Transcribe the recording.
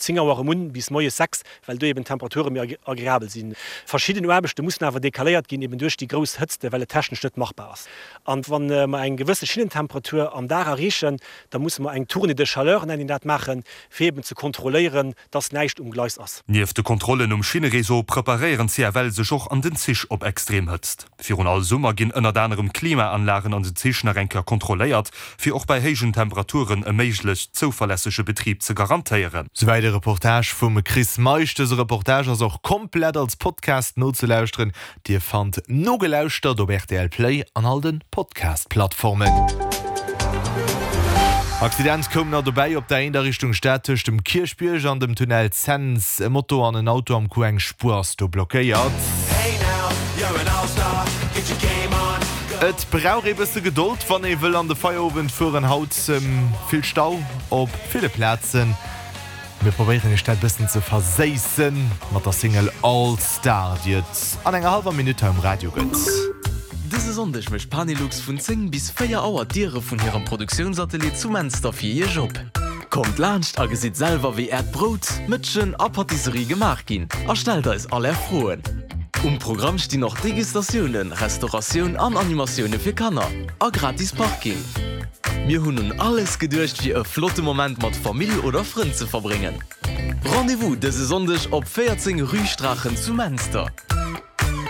10 Auer erëm un bis moies 6, well do eben d'Temperature méi agreabel sinn. Verschidden Aarbechte mussen awer decaléiert ginn, eben duerch déi grouss Hëtzte, well et technesch net machbar ass. An wa mer eng gewësse Schinnentemperatur am Dag erreechen, da musse mer eng Tournée de chaleur, nennt een dat, maachen, fir eben ze kontrolléieren, dass näischt um Gleis ass. Nieft de Kontrollen um Schinnereseau preparéieren d'CFL sech och an den Zich op extrem Hëtzt. Virun all Summer ginn ënnert anerem d'Klimaanlagen an den Zich nach eng Kéier kontrolléiert, fir och bei héijen Temperaturen e méiglechst zouverlässege Betrib ze garantéieren. Souwäit e Reportage vum Chris Meisch. Dëse Reportage ass och komplett als Podcast nozelauschteren. Dir fannt Nogelauschtert op rtl Play an all den Podcast Plattformen. Accident koum nach dobäi op der 1 a Richtung Stad tëscht dem Kierchbierg an dem Tunnel Cents. E Moto an en Auto am Coup, eng Spuer ass do blockéiert. Et brauch ee bësse Gedold wann ee wëll an de Feierowend fueren. Haut vill Stau op ville Plazen. Mir probéieren iech dat bëssen ze verséissen mat der Single All Star, déi et an enger hallwer Minutt hei um Radio gëtt. Dëse Sonndeg mécht Panelux vun 10 bis 4 Auer d'Diere vun hirem Produktiounsatelier zu Menster fir iech op. Kommt laanscht a gesitt selwer wéi äert Brout, Mëtschen a Patisserie gemaach ginn a stellt eis all är Froen. Um Programm stinn och Degustatiounen, Restauratioun an Animatioune fir Kanner a gratis Parking. Mir hunn un alles geduecht fir e flotte Moment mat Famill oder Frënn ze verbréngen. Rendez-vous dëse Sonndeg op 14 Rue Straachen zu Menster.